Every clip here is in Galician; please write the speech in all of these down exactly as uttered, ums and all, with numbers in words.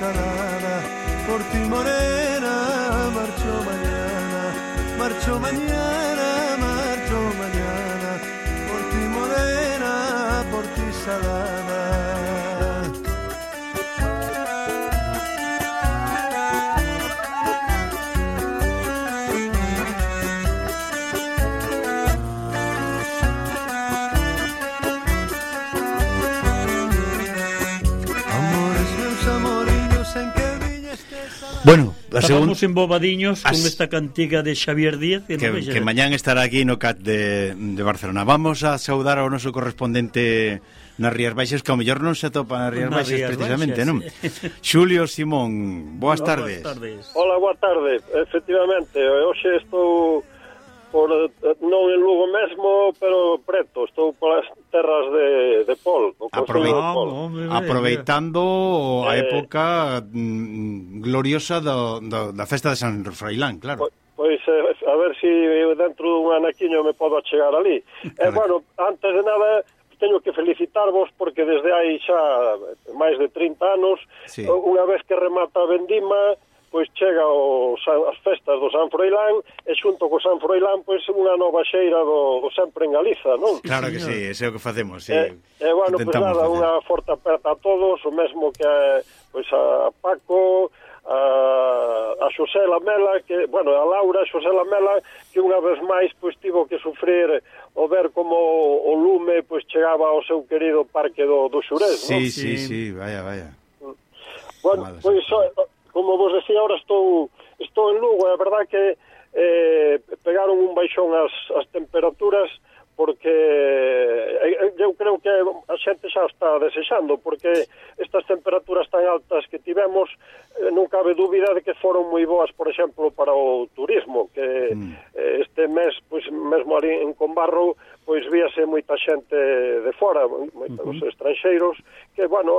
salada, por ti morena, marcho mañana, marcho mañana, marcho mañana, por ti morena, por ti salada. Bueno, estábamos segun... embobadiños con esta cantiga de Xavier Díaz que, no que mañán estará aquí no C A T de, de Barcelona. Vamos a saudar ao noso correspondente nas Rías Baixas, que ao mellor non se atopa nas Rías nas Baixas Rías precisamente, Baixas, non? Sí. Xulio Simón, boas no, tardes. Boas tardes. Hola, boa tarde. Efectivamente, hoxe estou por, non en Lugo mesmo, pero preto, estou polas terras de, de Pol, o Concello de Pol. Aproveitando a época mm, gloriosa do, do, da festa de San Froilán, claro. Pois, pois a ver se si dentro dun anaquiño me podo achegar ali. E, eh, bueno, antes de nada, teño que felicitarvos porque desde hai xa máis de trinta anos, sí. Unha vez que remata a vendima, pois chega o, as festas do San Froilán e xunto co San Froilán pois unha nova xeira do, do sempre en Galiza, non? Claro que sí, ese é o que facemos, sí. E, e bueno, pois nada, facer. Unha forte aperta a todos, o mesmo que pois a Paco, a, a Xosé Lamela, que, bueno, a Laura, a Xosé Lamela, que unha vez máis pois tivo que sufrir o ver como o lume pois chegaba ao seu querido parque do, do Xurés, sí, non? Sí, sí, sí, vaya, vaya. Bueno, pois... Como vos decía, ahora estou estou en Lugo, é verdad que eh, pegaron un baixón as, as temperaturas porque eh, eu creo que a xente xa está desexando, porque estas temperaturas tan altas que tivemos eh, non cabe dúbida de que foron moi boas, por exemplo, para o turismo, que mm. eh, este mes, pois mesmo ali en Combarro, pois víase moita xente de fora, moitos uh-huh. estranxeiros, que, bueno,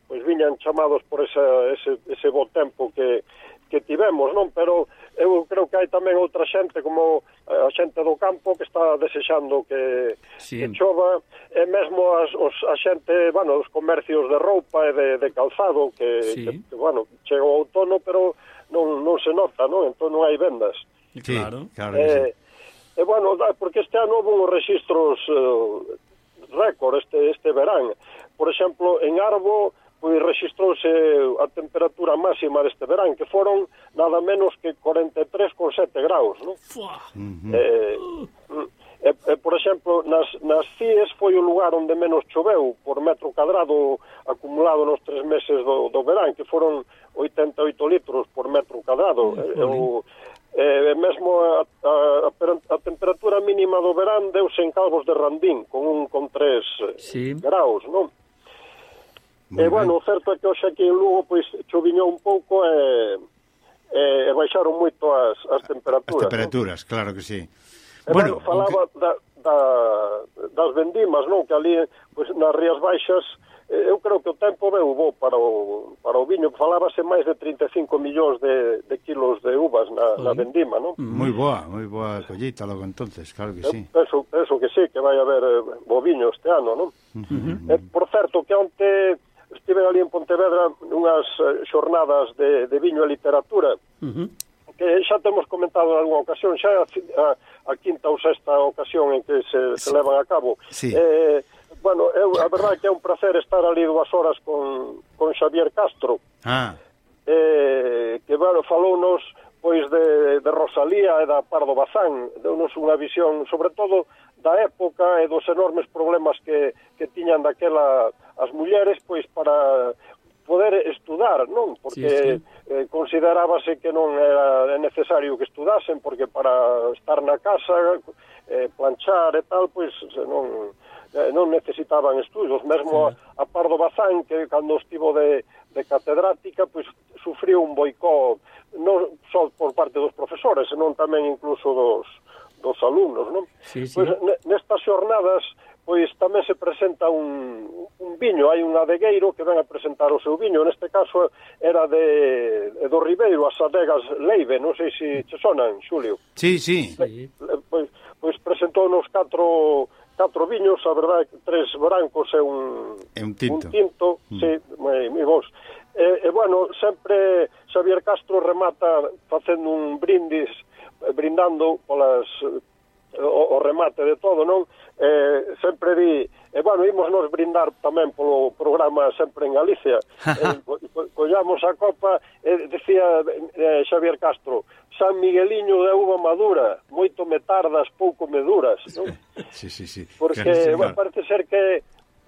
pois viñan chamados por esa, ese, ese bo tempo que, que tivemos, non? Pero eu creo que hai tamén outra xente, como a xente do campo, que está desexando que, sí. que chova, e mesmo as, os, a xente, bueno, os comercios de roupa e de, de calzado, que, sí. que, que, bueno, chega o outono, pero non, non se nota, non? Entón non hai vendas. Sí, claro, claro que eh, sí. E, bueno, porque este ano houve uns registros uh, récord este, este verán. Por exemplo, en Arbo, pois registrouse a temperatura máxima deste verán, que foron nada menos que cuarenta e tres coma sete graus, non? Uh-huh. Eh, e, e, por exemplo, nas, nas Cies foi o lugar onde menos choveu por metro cadrado acumulado nos tres meses do, do verán, que foron oitenta e oito litros por metro cadrado. Uh-huh. E, Eh, mesmo a, a, a temperatura mínima do verán deuse en Calvos de Randín con un con tres sí. graus, non? Muy e, bueno, o certo é que hoxe aquí en Lugo pois choviñou un pouco e, e, e baixaron moito as, as temperaturas. As temperaturas, ¿no? Claro que sí. E, bueno, bueno, falaba que... da, da, das vendimas, non? Que ali, pois, nas Rías Baixas, eu creo que o tempo veu bo para o, para o viño. Falábase máis de trinta e cinco millóns de, de kilos de uvas na, na vendima, non? Moi boa, moi boa collita logo entonces, claro que sí. Penso, penso que sí, que vai haber eh, bo viño este ano, non? Uh-huh. eh, por certo, que onte estive ali en Pontevedra nunhas eh, xornadas de, de viño e literatura, uh-huh. que xa temos comentado en alguna ocasión, xa a, a, a quinta ou sexta ocasión en que se, sí. se levan a cabo. Sí. Eh, Bueno, eu, a verdade é que é un placer estar ali dúas horas con, con Xavier Castro, ah. eh, que, bueno, falounos pois de, de Rosalía e da Pardo Bazán, deunos unha visión, sobre todo, da época e dos enormes problemas que, que tiñan daquela as mulleres, pois, para poder estudar, non? Porque sí, sí. Eh, considerábase que non era necesario que estudasen, porque para estar na casa, eh, planchar e tal, pois, non... Eh, non necesitaban estudos, mesmo sí. a, a Pardo Bazán, que cando estivo de, de catedrática, pois sufriu un boicot non só por parte dos profesores, senón tamén incluso dos, dos alumnos, non? Sí, sí. Pois nestas xornadas, pois tamén se presenta un, un viño, hai un adegueiro que ven a presentar o seu viño, neste caso era de, de do Ribeiro, as adegas Leive, non sei se che sonan, Xulio. Sí, sí. sí. Pois, pois presentou nos catro... catro viños, a verdade, tres brancos e un, e un tinto, un tinto mm. sí, moi, moi bons. E, e bueno, sempre Xavier Castro remata facendo un brindis, brindando polas o, o remate de todo, non? Eh, sempre di, e bueno, ímos nos brindar tamén polo programa Sempre en Galicia. eh, co, collamos a copa e decía eh, Xavier Castro: San Migueliño de uva madura, moito me tardas, pouco me duras, non? Sí, sí, sí. Porque claro, bueno, parece ser que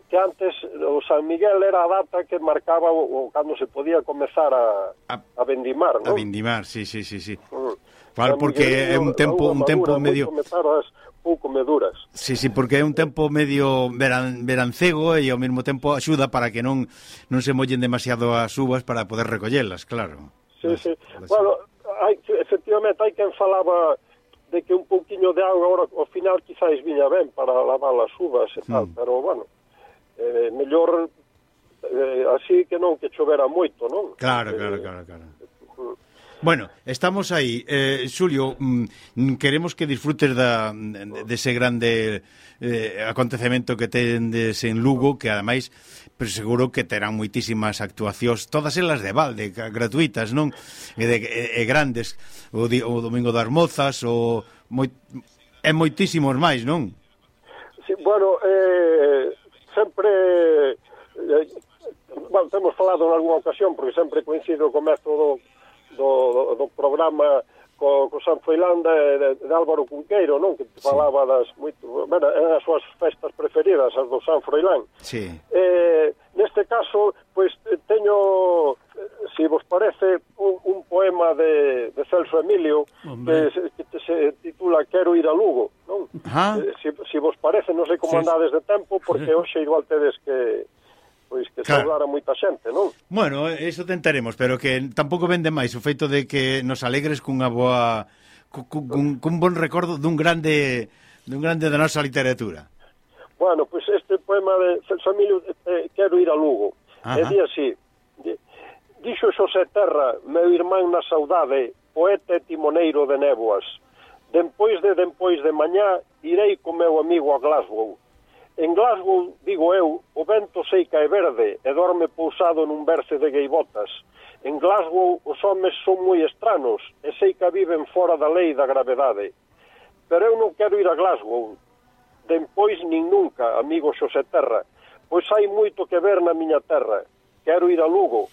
que antes o San Miguel era a data que marcaba o, o cando se podía comezar a, a, a vendimar, non? A vendimar, sí, sí, sí, sí. Mm. Vale, porque é un tempo un tempo medio comezarás pouco meduras. Sí, sí, porque é un tempo medio veran, verancego e ao mesmo tempo axuda para que non non se mollen demasiado as uvas para poder recollelas, claro. Sí, las, sí. Las... Bueno, hai, efectivamente hai quen falaba de que un pouquiño de auga agora ao final quizás viña ben para lavar as uvas e tal, mm. pero bueno, eh, mellor eh, así que non que chovera moito, non? Claro, claro, eh, claro, claro. Bueno, estamos aí. Eh, Xulio, mm, queremos que disfrutes da, de, de ese grande eh, acontecemento que tendes en Lugo, que ademais, pero seguro que terán moitísimas actuacións, todas elas de balde, gratuitas, non? E, de, e, e grandes, o, di, o Domingo das Mozas, o moi, e moitísimos máis, non? Sí, bueno, eh, sempre... Eh, bueno, temos falado en algunha ocasión, porque sempre coincido co método do, do programa co, co San Froilán de, de, de Álvaro Cunqueiro, non? Que te falaba sí. das moito, bueno, eran as súas festas preferidas, as do San Froilán. Sí. Eh, neste caso, pois teño, se vos parece, un, un poema de, de Celso Emilio que, que se titula Quero ir a Lugo, non? Eh, se, se vos parece, non sei como sí. andades de tempo, porque hoxe igual tedes que pois que claro. Saudar a moita xente, non? Bueno, eso tentaremos, pero que tampouco vende máis o feito de que nos alegres cunha boa cun, cun bon recordo dun grande dun grande da nosa literatura. Bueno, pois este poema de Celso Emilio, eh, Quero ir a Lugo. Ajá. E di así: dixo Xosé Terra, meu irmán na saudade, poeta e timoneiro de néboas. Dempois de dempois de mañá irei co meu amigo a Glasgow. En Glasgow, digo eu, o vento sei que é verde e dorme pousado nun berce de gaivotas. En Glasgow os homes son moi estranos e sei que viven fora da lei da gravedade. Pero eu non quero ir a Glasgow, dempois nin nunca, amigo Xosé Terra, pois hai moito que ver na miña terra. Quero ir a Lugo,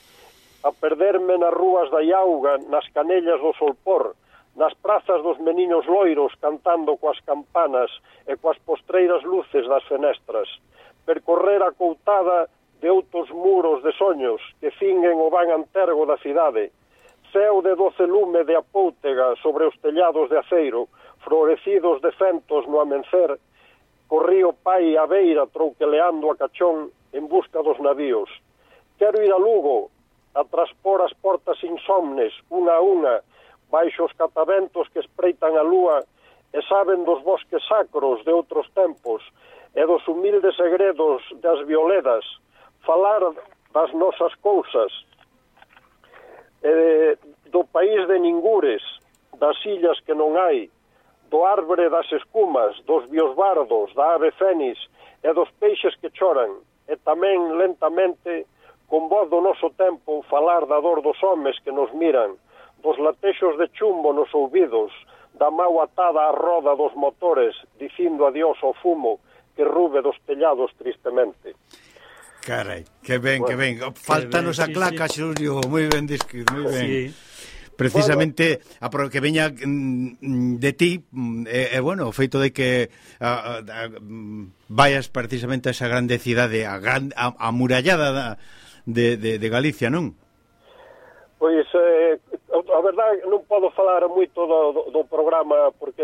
a perderme nas rúas da Iauga, nas canellas do Solpor, nas prazas dos meniños loiros cantando coas campanas e coas postreiras luces das fenestras, percorrer a coutada de outros muros de soños que finguen o van antergo da cidade, ceo de doce lume de apóutega sobre os tellados de aceiro, florecidos de fentos no amencer, corrío pai a beira trouqueleando a cachón en busca dos navíos. Quero ir a Lugo, a traspor as portas insomnes, unha a unha, baixo os cataventos que espreitan a lúa e saben dos bosques sacros de outros tempos e dos humildes segredos das violedas, falar das nosas cousas, e do país de ningures, das illas que non hai, do árbore das escumas, dos biosbardos, da ave fénix e dos peixes que choran, e tamén lentamente, con voz do noso tempo, falar da dor dos homes que nos miran, dos latexos de chumbo nos ouvidos, da mau atada á roda dos motores, dicindo adiós ao fumo que rube dos tellados tristemente. Carai, que ben, bueno, que ben. Faltanos a claca, sí, Xulio, sí. Moi ben descrito, moi ben. Sí. Precisamente, bueno, a que veña de ti, e, eh, bueno, o feito de que a, a, a, vayas precisamente a esa grande cidade, a, gran, a, a murallada de, de, de Galicia, non? Pois, eh, a verdade, non podo falar moito do, do, do programa porque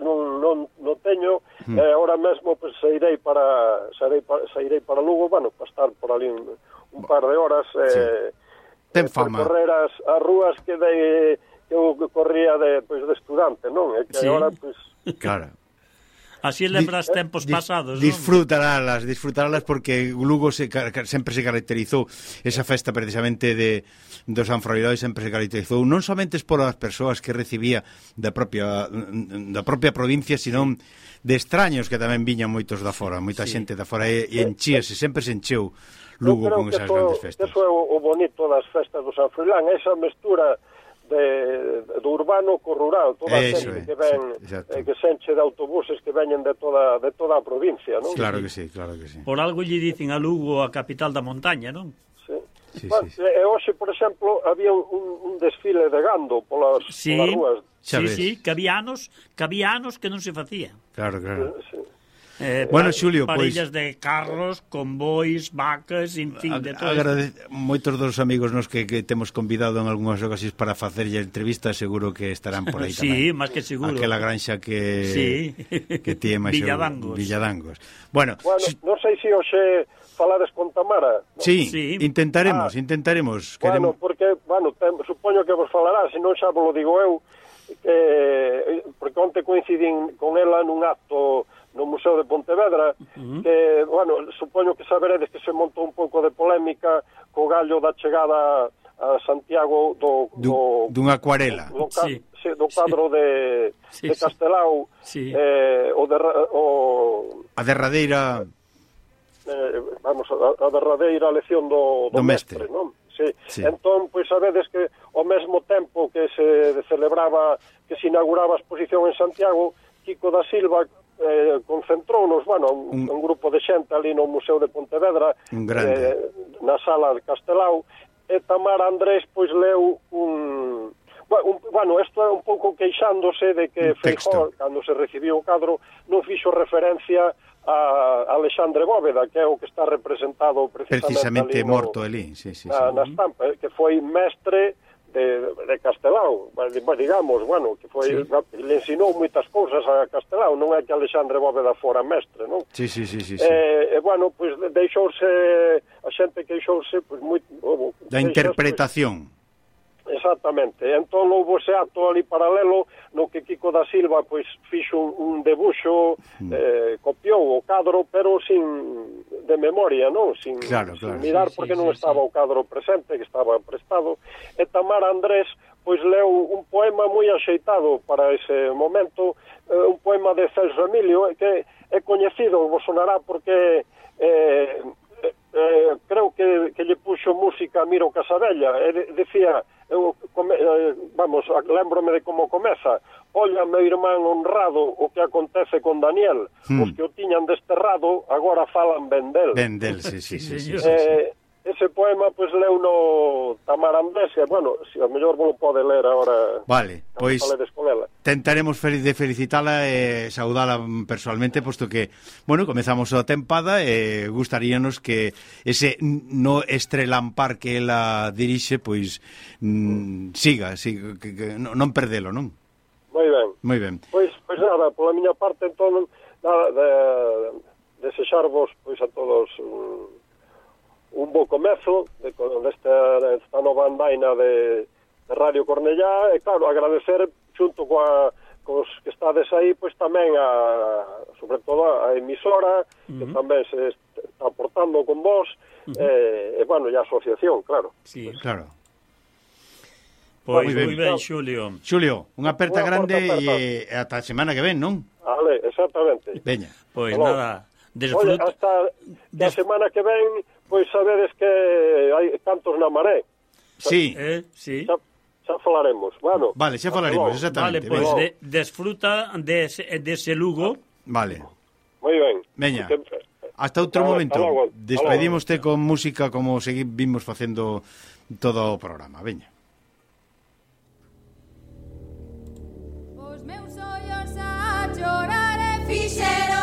non, non, non teño, mm. eh, ahora mesmo pues, sairei para sairei para, sairei para Lugo, bueno, para estar por ali un, un par de horas, eh, sí. Ten fama. Correr as, as rúas que, de, que eu corría de, pues, de estudante, non? E que sí. agora, pues... Claro. Así lembras di, tempos di, pasados, non? Disfrutarálas, disfrutarálas porque Lugo se, sempre se caracterizou, esa festa precisamente de do San Froilán sempre se caracterizou non somente por as persoas que recibía da propia da propia provincia, sino de extraños que tamén viñan moitos da fora, moita sí. xente da fora, e, e enchíase, sempre se encheu Lugo con esas grandes festas. Eso é o, o bonito das festas do San Froilán, esa mestura de, do urbano co rural, toda a xente que ven, eh, que se enche de autobuses que veñen de toda de toda a provincia, non? Claro que sí, claro que sí. Por algo lle dicen a Lugo a capital da montaña, non? Sí. Sí, bueno, sí, sí. E hoxe, por exemplo, había un, un desfile de gando polas, sí, polas rúas. Sí, sí, que había anos, que había anos que non se facía. Claro, claro. Sí, sí. Eh, bueno, Xulio, parillas pois... de carros, convois, vacas, en fin, de todo. Agradece... Moitos dos amigos nos que, que temos convidado en algunhas ocasións para facerlle entrevista, seguro que estarán por aí sí, tamén. Sí, máis que seguro. Aquela granxa que sí. que tiene máis Villadangos. Villadangos. Bueno, bueno si... non sei se hoxe falades con Tamara. ¿No? Sí, sí, intentaremos, ah, intentaremos. Bueno, queremos... porque, bueno, te, supoño que vos falará, se non xa vos lo digo eu, que porque onte coincidín con ela nun acto no Museo de Pontevedra, uh-huh. que, bueno, supoño que saberedes que se montou un pouco de polémica co gallo da chegada a Santiago do... do dunha acuarela. Do, do, sí. do cadro sí. de, sí, de Castelao, sí. eh, o, de, o... A derradeira... Eh, vamos, a, a derradeira lección do, do, do mestre, mestre, non? Sí. Sí. Entón, pois sabedes que ao mesmo tempo que se celebraba, que se inauguraba a exposición en Santiago, Kiko da Silva eh, concentrounos, bueno, un, un, un grupo de xente ali no Museo de Pontevedra, eh, na sala de Castelao, e Tamara Andrés pois leu un... un bueno, isto é un pouco queixándose de que Feijóo, cando se recibiu o cadro, non fixo referencia a Alexandre Bóveda, que é o que está representado precisamente, precisamente ali no, morto ali, sí, sí, na, sí. na estampa, que foi mestre de, de Castelao, digamos, bueno, que foi, sí. le ensinou moitas cousas a Castelao, non é que Alexandre Bóveda fora mestre, non? Sí, sí, sí, sí, sí. Eh, e, bueno, pois pues, deixouse, a xente queixouse, pois, pues, moi... Oh, da interpretación. Pues, exactamente, entón houve ese acto ali paralelo no que Kiko da Silva pois fixo un, un debuxo, eh, copiou o cadro, pero sin de memoria, non? Sin, claro, claro. sin mirar, sí, porque sí, non sí, estaba sí. o cadro presente, que estaba prestado, e Tamara Andrés pois leu un poema moi axeitado para ese momento, eh, un poema de Celso Emilio, que é coñecido, vos sonará porque eh, eh, creo que, que lle puxo música a Miro Casabella, e de, decía, eu, come, eh, vamos, lembrome de como comeza: olla, meu irmán honrado, o que acontece con Daniel, hmm. os que o tiñan desterrado agora falan ben del. Ben del, sí, sí, sí, sí, sí, sí, eh, sí. Ese poema, pois, pues, leu no Tamara Andrés, e, bueno, si, a mellor vos lo pode ler agora. Vale, pois tentaremos fel de felicitala e saudala personalmente, posto que, bueno, comezamos a tempada e gustaríanos que ese no estrelampar que ela dirixe, pois, mm, siga, siga que, que, non perdelo, non? Moi ben. Moi ben. Pois, pois nada, pola miña parte, entón, nada, de, desexarvos, pois, a todos... Um, un bo comezo de, desta, desta nova andaina de, de Radio Cornellá, e claro, agradecer xunto coa, cos que estades aí, pois tamén a, sobre todo a emisora, uh-huh. que tamén se está aportando con vos, uh-huh. e, e, bueno, e a asociación, claro. Sí, pues, claro. Pois moi ben, ben, Xulio. Xulio, unha aperta grande e ata a semana que ven, non? Vale, exactamente. Veña. Pois Hello. Nada, desfruta... Oye, hasta Des... a semana que ven... Pois sabedes que hai cantos na maré. Sí. Eh, sí. Xa, xa falaremos. Bueno, vale, xa falaremos, exactamente. Vale, pois pues, de, desfruta dese de ese Lugo. Vale. Moi ben. Veña. Hasta outro hasta momento. Hasta Despedímoste con música como seguimos facendo todo o programa. Veña. Os meus ollos a chorar e fixeron